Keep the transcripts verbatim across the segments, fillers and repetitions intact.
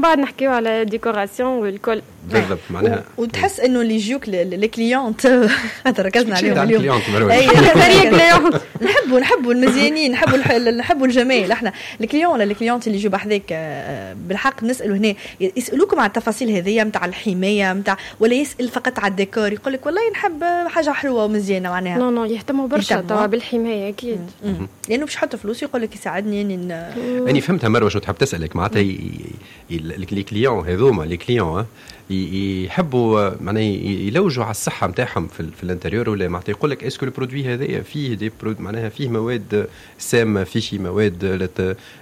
بعد نحكيو على décoration والكل. بالضبط معناها وتحس انه اللي يجوك les clientes، خاطر ركزنا عليهم اليوم، اي نحبوا نحبوا المزيانين، نحبوا نحبوا الجمال احنا. ال client ولا ال cliente اللي يجوا بحذاك آه، بالحق نسالوا هنا، يسالوكم على التفاصيل هذيا نتاع الحماية نتاع، ولا يسال فقط على الديكور، يقول لك والله نحب حاجة حلوة ومزيانه معناها؟ non non، يهتموا برشا توا بالحمايه اكيد. لانه باش يحط فلوس يقول لك يساعدني اني اني فهمتها مروه شو تحب تسالك، معناتها les clients هذوما، les clients يحبوا معناها يلوجوا على الصحة نتاعهم في, في l'intérieur، ولا معناتها يقول لك est-ce que ال produit هذايا فيه des produits، معناها فيه مواد سامه، فيه شي مواد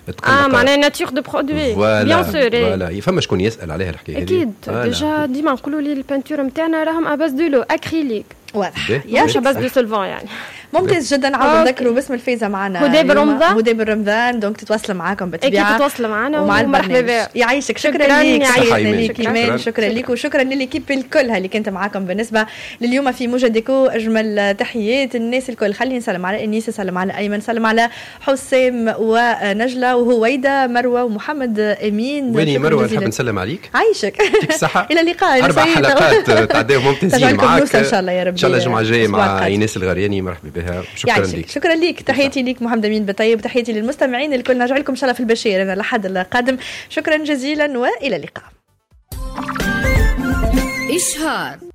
تقلق؟ اه معناها nature de produit، bien sûr. voilà، فما شكون يسال عليها الحكاية هذه؟ اكيد، déjà ديما نقولوا لي ال peinture نتاعنا راهم à base de l'eau acrylique. واضح. مش à base de solvants يعني. ممتاز جدا. عاود نذكروا باسم الفايزه معنا. هدى برمضان. هدى برمضان، donc تتواصل معاكم بالطبيعه. اكيد تتواصل معنا. ومع البرنامج. يعيشك، شكرا لك، شكرا لك ايمان، شكرا لك وشكرا لل équipe الكل اللي كانت معاكم بالنسبة لليوم في موجة ديكو. اجمل تحيات الناس الكل. خليني نسلم على انيس، نسلم على ايمن، نسلم على حسام ونجله وهويده، مروه ومحمد امين. ويني مروه؟ نحب نسلم عليك. عايشك. يعطيك الصحه. الى اللقاء. اربع حلقات تعداو ممتازين معاك. ان شاء الله يا رب. ان شاء الله الجمعة الجاية مع ايناس الغرياني، مرحبا بها. شكرا لك. شكرا لك، تحياتي لك محمد امين بطيب، تحياتي للمستمعين الكل. نرجع لكم ان شاء الله في البشير انا لحد القادم. شكرا جزيلا والى اللقاء. إشهار.